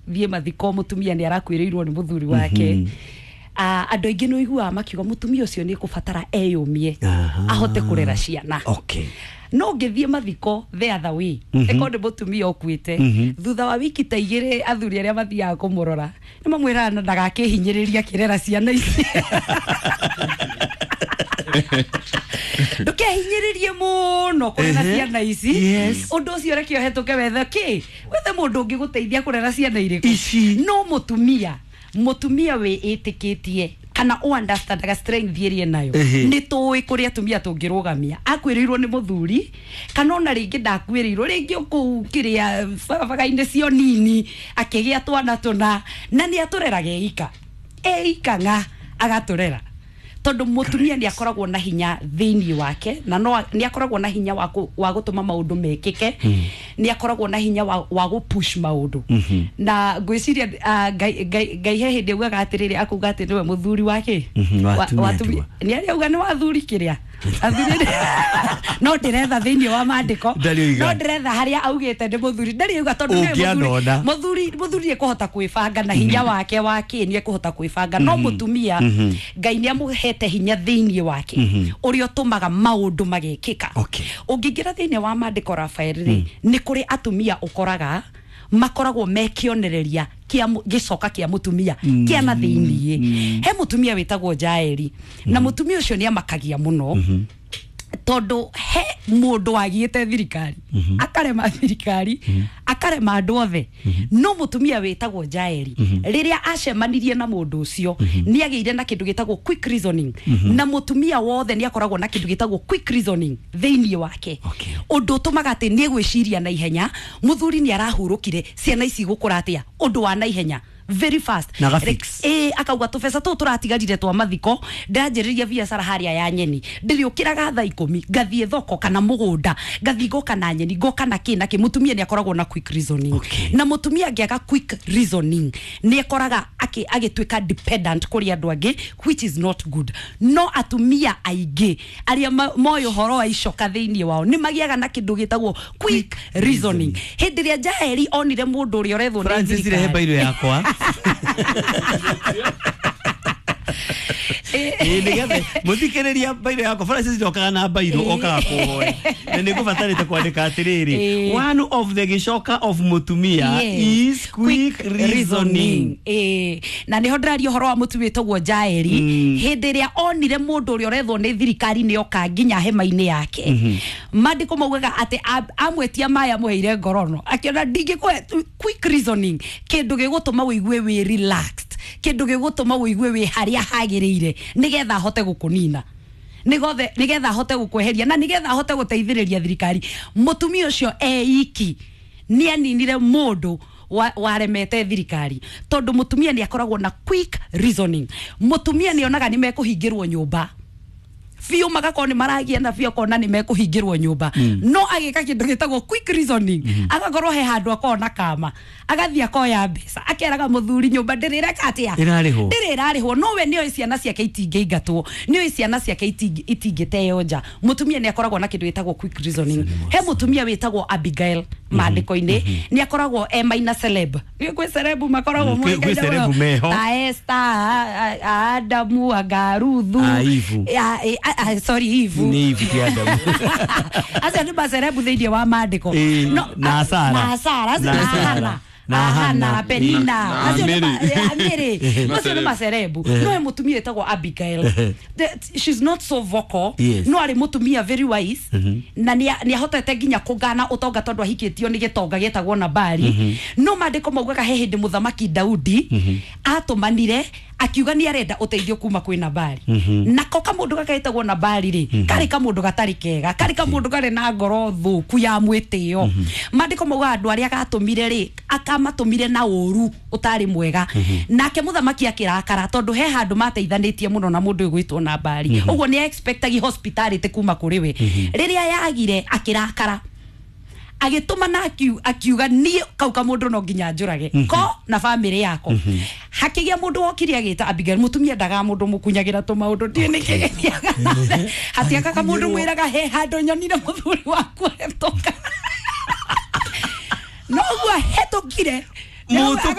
Wathiĩ mathiko, mũtumia nĩ arakuĩrĩirwo nĩ mũthuri wake, andũ aingĩ nĩ ũiguaga makiuga mũtumia ũcio nĩ kũbatara eyũmie ahote kũrera ciana. No ngĩthiĩ mathiko the other way, ĩkorwo nĩ mũtumia ũkuĩte, thutha wa wiki ta 2 athuri arĩa mathiaga kũmũrora nĩ mamwĩraga na ndagakĩhinyĩrĩria akĩrera ciana ici. Ndũkehinyĩrĩrie mũno kũrera ciana ici. Ũndũ ũcio reke ũhetũke, wethe kĩ, wethe mũndũ ũngĩ gũteithia kũrera ciana irĩkũ. Ici. No mũtumia wĩĩtĩkĩtie kana ũ understandaga strength ĩrĩa enayo, nĩ tũĩ kũrĩa atumia tũngĩrũgamia. Akuĩrĩirwo nĩ mũthuri kana ona rĩngĩ ndakuĩrĩirwo, rĩngĩ kũu kĩrĩa barabara-inĩ cio nini akĩgĩa twana tũna, na nĩ atũreraga eika eika ng'a agatũrera, tondũ mũtumia nĩ akoragwo na hinya thĩinĩ wake, na no nĩ akoragwo na hinya wa gũtũma maũndũ mekĩke, nĩ akoragwo na hinya wa gũ push maũndũ. Na ngwĩciria Ngai he hĩndĩ augaga atĩrĩrĩ, akauga atĩ nĩwe mũthuri wake. Wa atumia ndigwa. Nĩ arĩa auga nĩ wathuri kĩrĩa athuri, no ndĩretha thĩinĩ wa maandĩko. Ndarĩ oiga. No ndĩretha harĩa augĩte nĩ mũthuri, ndarĩ auga, tondũ nĩwe Ũngĩanona. mũthuri ekũhota kwĩbanga na hinya wake wa kĩ, nĩ ekũhota kwĩbanga. No mũtumia, Ngai nĩ amũhete hinya thĩinĩ wake ũrĩa ũtũmaga maũndũ magekĩka. Ũngĩingĩra thĩinĩ wa maandĩko, Rafael, rĩ, nĩ kũrĩ atumia ũkoraga makoragwo me kĩonereria kĩa gĩcoka kĩa mũtumia kĩa na thĩiniĩ. He mũtumia wĩtagwo Jaeli, na mũtumia ũcio nĩ amakagia mũno, tondũ he mũndũ wagiĩte thirikari, akarema thirikari, akarema andũ othe, no mũtumia wĩtagwo Jaeli, rĩrĩa acemanirie na mũndũ ũcio, nĩ agĩire na kĩndũ gĩtagwo quick reasoning. Na mũtumia wothe nĩ akoragwo na kĩndũ gĩtagwo quick reasoning thĩinĩ wake, ũndũ ũtũmaga atĩ nĩ egwĩciria na ihenya, mũthuri nĩ arahurũkire, ciana ici igũkũra atĩa, ũndũ wa na ihenya, very fast. Na agafix. Ĩ, akauga tũbeca tũu tũratigarire twa mathiko, ndĩranjĩrĩria biacara harĩa ya nyeni, ndĩrĩũkĩraga thaa 10, ngathiĩ thoko kana mũgũnda, ngathiĩ ngoka na nyeni, ngoka na kĩ na kĩ. Mũtumia nĩ akoragwo na quick reasoning. Na mũtumia angĩaga quick reasoning, nĩ ekoraga agĩtuĩka dependent kũrĩ andũ angĩ, which is not good. No atumia aingĩ arĩa moĩ ũhoro wa icoka thĩinĩ wao nĩ magĩaga na kĩndũ gĩtagwo quick reasoning. Hĩndĩ ĩrĩa Jaeli onire mũndũ ũrĩa ũrethwo nĩ Francis, rehe thirikari. Bairo yakwa. Ĩ, nĩgetha mũthikĩrĩria, bairo yakwa, Francis ndokaga na bairo, okaga kũhoya, na nĩ ngũbatarĩte kwandĩka atĩrĩrĩ, one of the gĩcoka of mũtumia is quick reasoning. Ĩĩ, na nĩho ndĩraria ũhoro wa mũtumia wĩtagwo Jaeli. Hĩndĩ ĩrĩa onire mũndũ ũrĩa ũrethwo nĩ thirikari nĩ oka nginya hema-inĩ yake, maandĩko maugaga atĩ amwĩtia maĩ, amũheire ngorono, akĩona ndingĩkũhe. Quick reasoning, kĩndũ gĩgũtũma ũigue wĩ relaxed, kĩndũ gĩgũtũma ũigue wĩ harĩa hagĩrĩire, nĩgetha ahote gũkũnina, nĩgothe nĩgetha ahote gũkweheria, na nĩgetha ahote gũteithĩrĩria thirikari. Mũtumia ũcio eiki nĩ aninire mũndũ waremete thirikari, tondũ mũtumia nĩ akoragwo na quick reasoning. Mũtumia nĩ onaga nĩ mekũhingĩrwo nyũmba biũ, magakorwo nĩ maragia na biũ, akona nĩ mekũhingĩrwo nyũmba, no agĩka kĩndũ gĩtagwo quick reasoning, agakorwo he handũ akorwo na kama, agathiĩ akoya mbeca, akeraga mũthuri nyũmba ndĩrĩreka atĩa. Ĩrarĩhwo. Ndĩrĩ ĩrarĩhwo, no we nĩoĩ ciana ciake itingĩingatwo, nĩoĩ ciana ciake itingĩteo nja. Mũtumia nĩ akoragwo na kĩndũ gĩtagwo quick reasoning. He mũtumia wĩtagwo Abigail maandĩko-inĩ, nĩ akoragwo e maina celeb, nĩ kwĩ celeb makoragwo Kwĩ moĩkaine celeb mũno. meho. Ta Esther, Adamu, anga Ruthu. A Eve. Sorry, Eve. Nĩ Eve, ti Adamu. Acio nĩ macerebu thĩinĩ wa maandĩko. Ĩĩ, na Sara. Na Sara Na na Sara. Hana. Na na Hana. Hana, Penina. Na Acio nĩ Mary. Mary. Acio nĩ macerebu. No he mũtumia wĩtagwo Abigail. She's not so vocal, no arĩ mũtumia very wise, na nĩ ahotete nginya kũgana ũtonga, tondũ ahikĩtio nĩ gĩtonga gĩtagwo Nabali. No maandĩko maugaga he hĩndĩ mũthamaki Daudi atũmanire akiuga nĩ arenda ũteithio kuma kwĩ Nabali. Nako kamũndũ gaka getagwo Nabali rĩ, karĩ kamũndũ gatarĩ kega, karĩ kamũndũ karĩ na ngoro thũku ya mwĩtĩo. Maandĩko maugaga andũ arĩa gatũmire rĩ, akamatũmire na ũru ũtarĩ mwega, nake mũthamaki akĩrakara, tondũ he handũ mateithanĩtie mũno na mũndũ ũyũ gwĩtwo Nabali. Ũguo nĩ expectagi hospitality kuma kũrĩ we. Rĩrĩa yagire, akĩrakara, agĩtũma na akiuga niĩ kau kamũndũ no nginya njũrage ko na bamĩrĩ yako. Hakĩgĩa mũndũ wokire agĩta Abigail. Mũtumia ndaga mũndũ mũkunyagĩra tũmaũndũ, ndiĩ nĩkĩ gĩthiaga, hatiakaga mũndũ mwĩraga he handũ nyonire mũthuri waku hetũka, noguo hetũkire. Mũtũkĩre.